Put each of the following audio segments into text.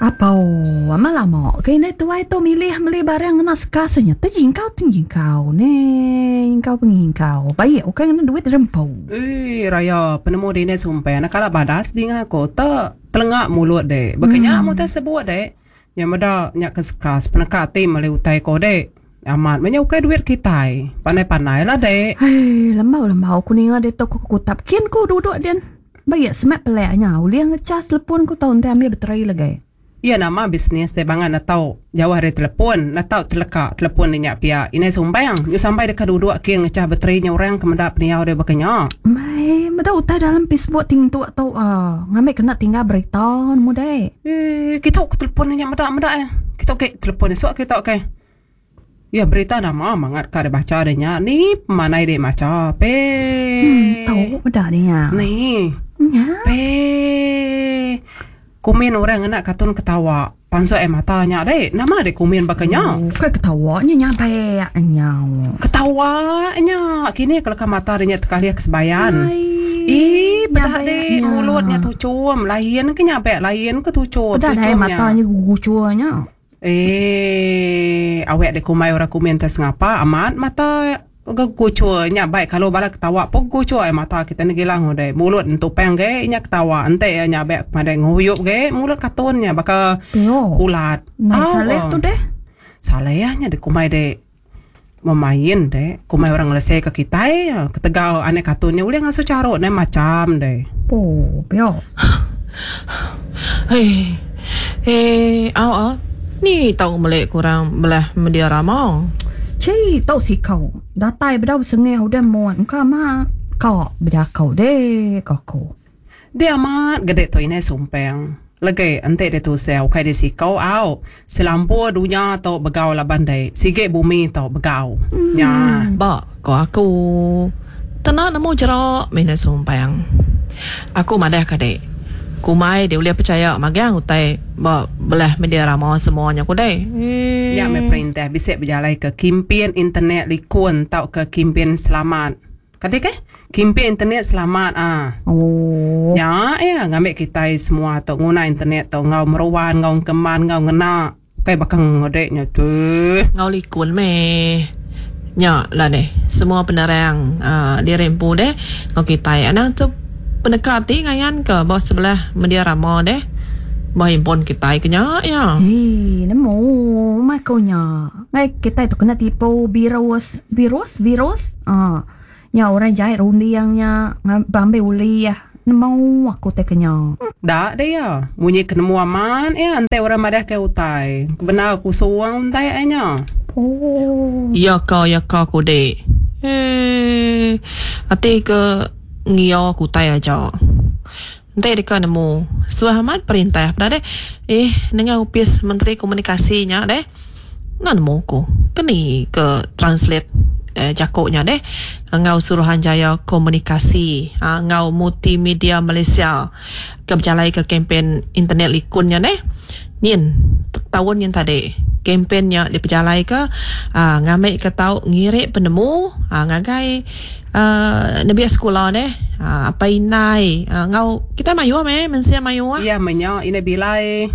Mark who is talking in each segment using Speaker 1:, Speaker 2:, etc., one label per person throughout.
Speaker 1: Apau, amat lama ke indai tuai tu milih meli barang ngena sekas nya. Tejingkau tejingkau ne, nyingkau pengingkau. Baik ukai ngena duit diri empu.
Speaker 2: Ui raya penemu dini sumpah ne kala badas dinga aku te telenga mulut de. Baka nya meh utai sebut de. Nya meda nya ke sekas peneka ati meli utai ko de. Amat meh nya ukai duit kitai. Pandai pandai lah de.
Speaker 1: Hei lembau lembau ku ninga ditu ku kekutap kin ku duduk din. Ba iya semak pelek nya ulih ngecas telepon ku tau enti ambil bateri lagi.
Speaker 2: Iya nama bisnis deh bangat ne tau jauh ari telepon ne tau teleka telepon ne nya pia indai sumbang nyu sampai deka duduk king ngecah bateri nya orang ke meda pendiau deh baka nya.
Speaker 1: Mei meda utai dalam facebook ti ngentuk tu ah ngambi kena tinggal berita nemu deh.
Speaker 2: Eii kitu ke telepon ne nya meda meda eh kitu ke telepon esok kitu ke. Iya berita nama mangat ka dibacha deh nya ni pemanai deh macha pe.
Speaker 1: Hmm tau meda deh nya.
Speaker 2: Ni.
Speaker 1: Nya.
Speaker 2: Pe. Kumin orang ngena katun ketawa pansut ai mata nya deh. Nama deh kumin baka nya.
Speaker 1: Bukai ketawa nya nyabak nyau.
Speaker 2: Ketawa nya kini ke leka mata deh nya tekalih ke sebayan. Ii peda deh mulut nya tuchum lain ke nyabak lain ke tuchum.
Speaker 1: Peda deh mata nya guchur nya.
Speaker 2: Eii awek deh kumbai orang kumin te sengapa amat mata geguchur nya bai kalu bala ketawa pun guchur ai mata kita ne gila ngudai mulut entupang ge inya ketawa enti iya nya be madai nguyup ge mulut katun nya baka kulat.
Speaker 1: Nai saleh tu deh.
Speaker 2: Saleh nya deh kumbai deh memain deh kumbai orang ngelese ke kitai ketegal anak katun nya ulih ngasuh charuk ne macam deh.
Speaker 1: Oh pia.
Speaker 3: Hei hei au au ni tau meli ku orang belah media rama.
Speaker 1: Chii tau sikau datai bedau besengih udah mut engka ma ka bejaku deh ka aku.
Speaker 2: Dia amat gede tu indai sumpang legi enti deh tusah ukai deh siko au selampur dunya tu begau laban deh sigi bumi tu begau nya.
Speaker 3: Ba ko aku tena nemu jera mih indai sumpang. Aku madah ka dek kumbai dek ulih pechaya magang utai ba belah media rama semua nya ku deh.
Speaker 2: Nya meh perintah bisi bejalai ke kimpin internet likun tauka kimpin selamat. Kati keh? Kimpin internet selamat ah.
Speaker 1: Oh.
Speaker 2: Nya iya ngambi kitai semua tu nguna internet tu enggau meruan enggau engkeman enggau ngena ukai baka ngede nya tu.
Speaker 3: Enggau likun meh. Nya lah deh semua penerang aaa diri empu deh enggau kitai anang tu peneka ati ngayan ke ba sebelah media rama deh ba handphone kitai ke nya iya.
Speaker 1: Hii nemu meh ku nya. Ngai kitai tu kena tipu virus, virus, virus. Aa nya orang jai runding nya bambi ulih nemu aku tai ke nya.
Speaker 2: Da deh iya. Munyi ke nemu amat iya enti orang madah ke utai. Kebendar kusung utai ai nya.
Speaker 1: Oh.
Speaker 3: Iya ka iya ka ku dik. Eee ati ke ngiya ku utai aja. Enti deka nemu suah amat perintah peda deh. Eh nengah opis menteri komunikasi nya deh. Enda nemu ku ke ni ke translate jaku nya deh enggau Suruhanjaya Komunikasi enggau Multimedia Malaysia ke bejalaika kempen internet likun nya deh. Nyin taun nyin tadi kempen nya dipejalaika aaa ngambika tau ngiri penemu aaa ngagai aaa nembiak sekula deh aaa apai indai enggau kitai mayuh meh mensia mayuh.
Speaker 2: Iya meh nya indai bilai.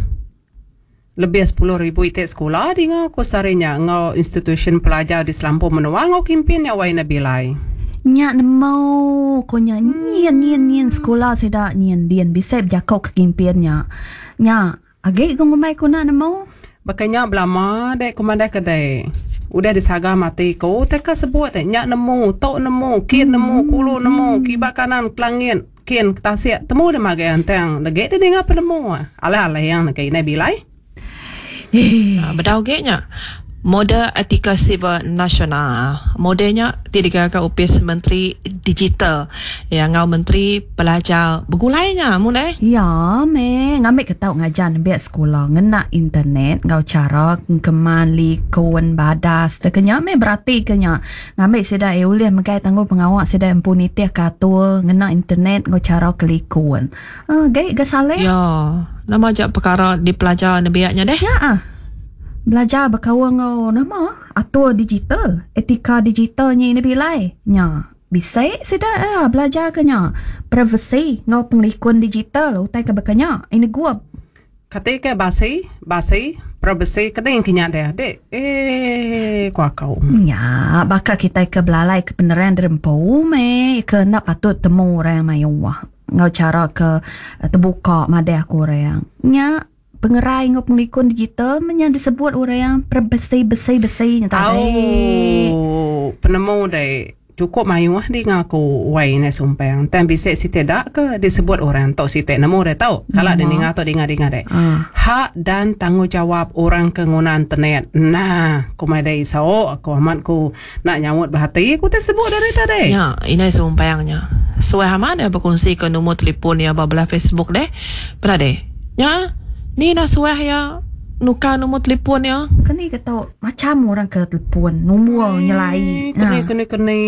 Speaker 2: Lebih 10,000 iti sekula dinga ku sehari nya enggau institusyen pelajar di selampur menua enggau kimpin nya wai Nabilai.
Speaker 1: Nya nemu ku nya nyin nyin nyin sekula sida nyin din bisi bejaku ke kimpin nya. Nya agi ku ngumbai ku enda nemu.
Speaker 2: Baka nya belama dek ku madah ke dek. Udah disaga mati ku utai ka sebut dek nya nemu tu nemu kin nemu kulu nemu kiba kanan kelangit. Kin ke tasik temu deh magai antang legi deh ninga penemu alai alai yang negi indai bilai.
Speaker 3: Bedau agi nya model etika siber nasional. Model nya ti digaga Opis Menteri Digital iya enggau Menteri Pelajar begulai nya mun eh.
Speaker 1: Iya meh ngambika tau ngajar nembiak sekula ngena internet enggau chara engkeman likun badas tauka nya meh beratika nya Ngambi sida iya ulih megai tanggungpengawa sida empu nitihka atur ngena internet enggau chara ke likun. Agi ga Saleh.
Speaker 3: Ya, nama aja pekara dipelajar nembiak nya deh?
Speaker 1: Nya ah. Belajar bekaul enggau nama atur digital, etika digital nya ina bilai. Nya, bisi sida iya belajarka nya. Privasi enggau pengelikun digital utai ke baka nya ina gup.
Speaker 2: Kati ke basi, basi, privacy kening ke nya deh dik. Eee ku aku.
Speaker 1: Nya baka kitai ke belalai ke penerang diri empu meh ke enda patut temu orang mayuh enggau chara ke tebuka madah ku orang. Nya pengerai enggau pengelikun digital meh nya disebut orang privacy besi besi nya tadi.
Speaker 2: Au penemu dek. Chukup mayuh dinga aku wai indai sumpang tang bisi siti da ke disebut orang tu siti nemu deh tu kala deh ninga tu dinga dinga deh hak dan tanggungjawab orang ke nguna internet nah ku madai iso aku amat ku nak nyaut ba hati ku te sebut dari tadi.
Speaker 3: Nya indai sumpang nya suah amat iya bekunsi ke numur telefon iya ba belah Facebook deh peda deh nya ni dah suah iya nukar numur telefon iya.
Speaker 1: Keni ke tu Macam orang ke telefon nombor nyelai.
Speaker 2: Keni keni keni.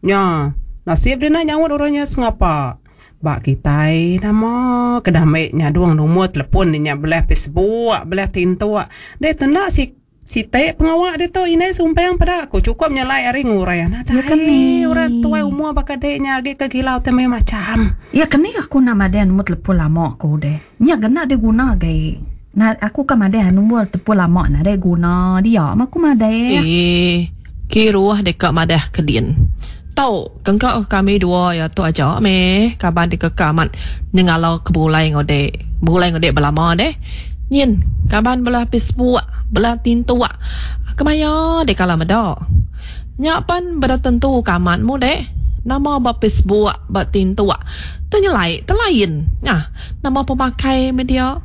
Speaker 2: Nya nasib dia nak nyaut orang nya sengapa. Ba kitai nama ke dah ambi nyadung nombor telefon dia nya belah Facebook belah tintuk. Deh tenda si siti pengawa ditu indai sumpang peda ku chukup nyelai ari ngurang. Nadai orang tuai umur baka dek nya agi ke gila utai mayuh macam.
Speaker 1: Ya keni aku nak madah nombor telefon lama ku deh. Nya gena diguna agi. Nah, aku ka madah nombor telefon lama nadai guna dia mah aku madah.
Speaker 3: Eee kiruh deka madah ke din. Tu kengka ke kami dua iya tu aja meh kaban deka ke amat nyengala ke begulai enggau dek. Begulai enggau dek belama deh. Nyin kaban bala Facebook bala tintuk kemaya dek kala meda. Nya pan beda tentu ke amat mu dek. Nama ba Facebook ba tintuk tenyelai telain nya nama pemakai meh dia.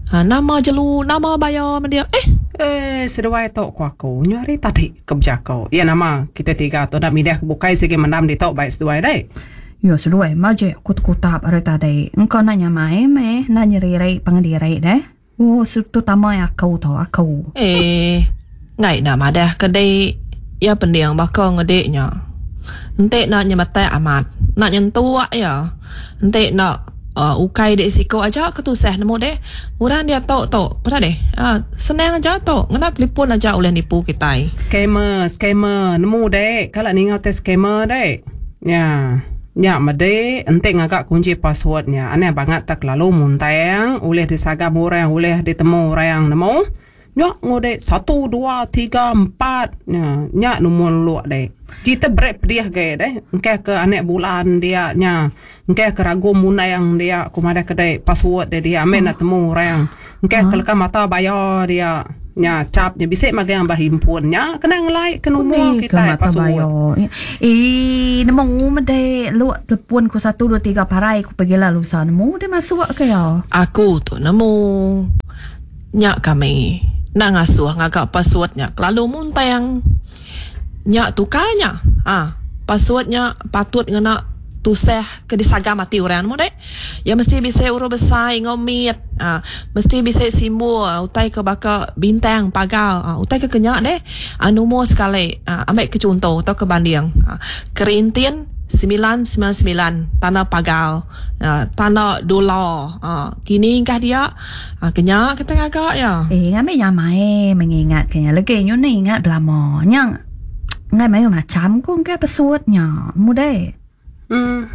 Speaker 3: Ha, nama jelu, nama baya men dia. Eh.
Speaker 2: Eh, seduai tu ku aku. Nyu hari tadi ke bejako. Iya nama kita tiga tu enda milih ke bukai sigi mendam ditu bai seduai deh.
Speaker 1: Ya seduai majik ku tekutap hari tadi. Engka enda nyamai meh, enda nyeriri pangan diri deh. Oh, terutama aku tu, aku.
Speaker 3: Eh, enggai enda madah ke dik. Iya pending baka ngedik nya. Enti enda nyemetak amat, enda nyentuk iya. Enti enda ukai dek siko aja ke tusah nemu deh. Orang diatu tu peda deh senang aja tu ngena telefon aja ulih nipu kitai.
Speaker 2: Scammer scammer nemu dek kala ninga utai scammer dek. Nya nya medi enti ngaga kunchi password nya anang bangat tak kelalu muntang ulih disagam orang ulih ditemu orang nemu. Nya ngudek satu dua tiga empat nya nya numur luk dek. Cerita berat pedih agi deh engkah ke anak bulan dia nya engkah ke ragu mundang dia ku madah ke dek password dia dia ambi nak temu orang engkah ke leka mata baya dia nya cap nya bisi magang ba handphone nya kena ngelai ke numur kitai password.
Speaker 1: Eii nemu mede luk telefon ku satu dua tiga parai ku pegila lusa nemu deh masuk ke iya.
Speaker 3: Aku tu nemu. Nya kami enda ngasuh ngaga password nya kelalu muntang. Nya tukar nya ah password nya patut ngena tusah ke disagam ati orang nemu deh. Iya mesti bisi huruf besai enggau mit ah mesti bisi simbol utai ke baka bintang pagar ah utai ke kenya deh ah numur sekali ah ambi ke chunto tauka banding ah kerintin semilan semilan semilan tanda pagar ah tanda dolar ah kini engkah dia. Ha, kenya kita ngaga ya.
Speaker 1: Eh, ngambi nyamai mengingat kenya. Legi nyu ni ingat belama. Nya ngai mayuh macam ku engka pesut nya. Mudai.
Speaker 2: Hmm.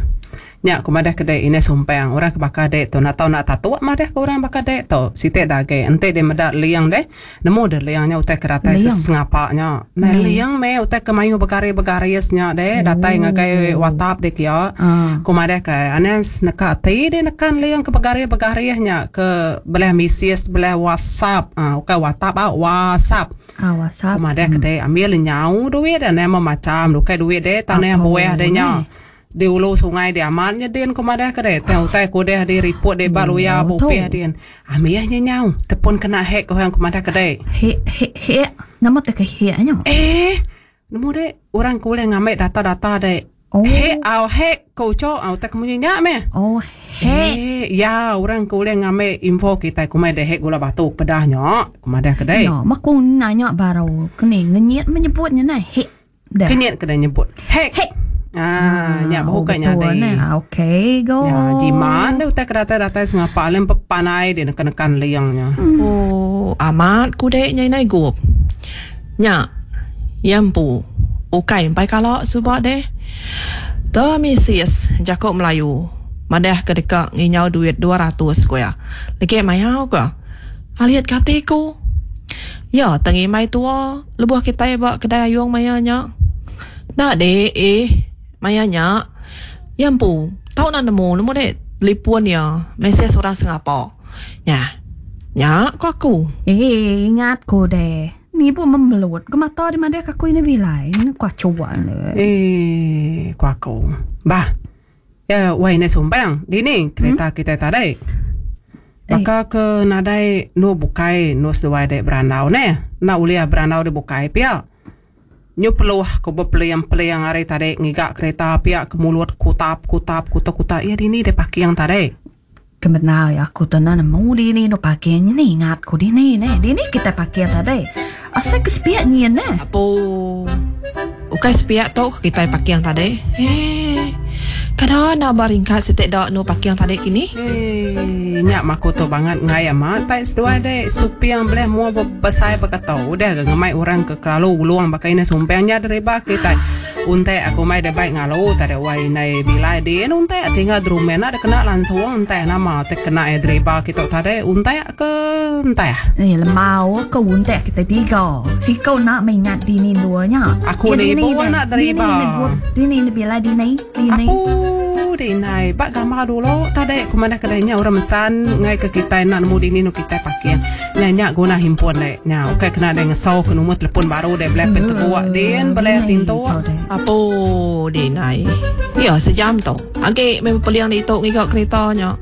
Speaker 2: Nya ku madah ke dek inai sumpang orang ke baka dek tu nak tau nak tatuk madah ke orang baka dek tu. Siti da agi enti dek meda liang deh nemu deh liang nya utai ke datai sengapa nya. Nai liang meh utai ke mayuh begaris-begaris nya deh datai ngagai WhatsApp deh kia. Ku madah ke anang neka ati deh nekan liang ke begaris-begaris nya ke belah mesej belah WhatsApp uhh ukai WhatsApp au WhatsApp. Ku madah ke deh ambil lenyau duit anang memacam ukai duit deh tanah buah deh nya. Di ulu sungai di amat nya din ku madah ke deh tang utai ku udah di report di ba luya ba upih din. Amih nya nyau tepun kena hack orang ku madah ke deh.
Speaker 1: Hack hack hack nama te ke hack nya?
Speaker 2: Eh nemu deh orang ke ulih ngambi data-data deh. Oh. Hack au hack ko ucho au utai ke munyi nya meh.
Speaker 1: Oh hack.
Speaker 2: Eh ya orang ke ulih ngambi info kitai kumai deh hack gula batu pedah nya ku madah ke deh.
Speaker 1: Ya meh ku nanya baru ke ni ngenyit menyebut nya neh hack.
Speaker 2: Dah. Kenyit kena nyebut hack.
Speaker 1: Hack.
Speaker 2: Ah, nya bahu ka nyadi.
Speaker 1: Nah, okey go.
Speaker 2: Ya, jiman deh utai ke datai-datai sengapa lem pepanai dia nekan-nekan liang nya.
Speaker 3: Oh, amat ku dek nya inai gup. Nya, iya empu ukai empai kala suba deh. Te misis jaku Melayu. Madah ke deka nginyau duit 200 ku iya. Legi mayau ka. Alit ke ati ku. Ya tang ngimbai tua lebuh kitai ba kedai ayung maya nya. Enda deh eh maya nya iya empu tau enda nemu nemu deh telefon iya mesej orang sengapa. Nya. Nya ku aku.
Speaker 1: Eh ingat ku deh. Ni pun memelut ke mata di madah ke aku ini bilai. Ni ku acuan deh.
Speaker 2: Eh ku aku. Bah. Ya wai ne sumbang dini kereta hmm? kita tadi. Baka ke nadai nu bukai nu seduai dek berandau neh. Enda ulih berandau di bukai pia. Nyu peluh ku bepeliang-peliang ari tadi ngiga kereta pia ke mulut kutap kutap kutak kutak iya dini dek parking tadi.
Speaker 1: Kebenar ya aku tu nemu dini nu parking ni ingat ku dini neh. Dini kita parking tadi. Asal ke sepiak nyin neh.
Speaker 3: Apo. Ukai sepiak tu ke kitai parking tadi. Eh. Kada enda ba ringkat siti da nu parking tadi kini.
Speaker 2: Eh, nya mah aku tu bangat enggai amat pai seduai dek suping beleh mua besai baka tu. Udah ga ngemai orang ke kelalu ulung baka ina sumping nya deriba kitai. Untek aku mai dek bai ngalu tadi wai indai bilai din untek tinggal drumen enda dek kena langsung entah nama te kena iya deriba kitu tadi untek ke entah.
Speaker 1: Eh lembau ke untek kita tiga. Siko nak mengingat dini dua nya.
Speaker 2: Aku ni ibu nak deriba.
Speaker 1: Dini ni bilai dini dini.
Speaker 2: Apu dinai ba gambar dulu tadi ku madah kedai nya orang mesan ngai ke kitai nak nemu dini nu kitai parking. Nya nya guna himpun dek. Nya ukai kena dek ngesau ke numur telefon baru dek belai pen tebuak din belai tintu.
Speaker 3: Apo dinai. Ya sejam tu. Agi meh bepeling ditu ngiga kereta nya.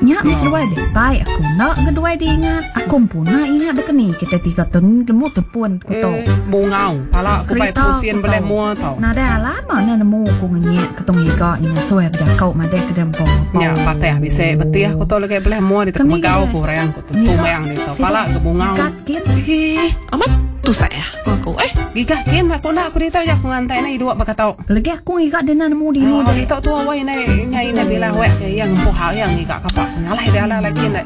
Speaker 1: Nya meh seduai dek. Bai aku enda ngeduai di ingat. Aku empu enda ingat dek ni kita tiga tu nemu telefon ku tu.
Speaker 2: Eh, bungau pala ku bai pusin belai mua tau.
Speaker 1: Nadai alam enda nemu ku ngenyek. Ketung iga nya ngasuh iya bejaku madah ke dempo.
Speaker 2: Nya patah bisi betih ku tu lagi beleh mua ditu megau ku orang ku tu tumang ditu pala ke bungau.
Speaker 3: Ih, amat tusah ku aku eh.
Speaker 2: Giga kin aku enda aku ditu ja aku ngantai ne idup baka tu.
Speaker 1: Lagi aku ngiga dina nemu dini.
Speaker 2: Oh, ditu tu awai ne nya ina bila wek ke iya ngempu hal iya ngiga kapa. Ngalai dia alai kin.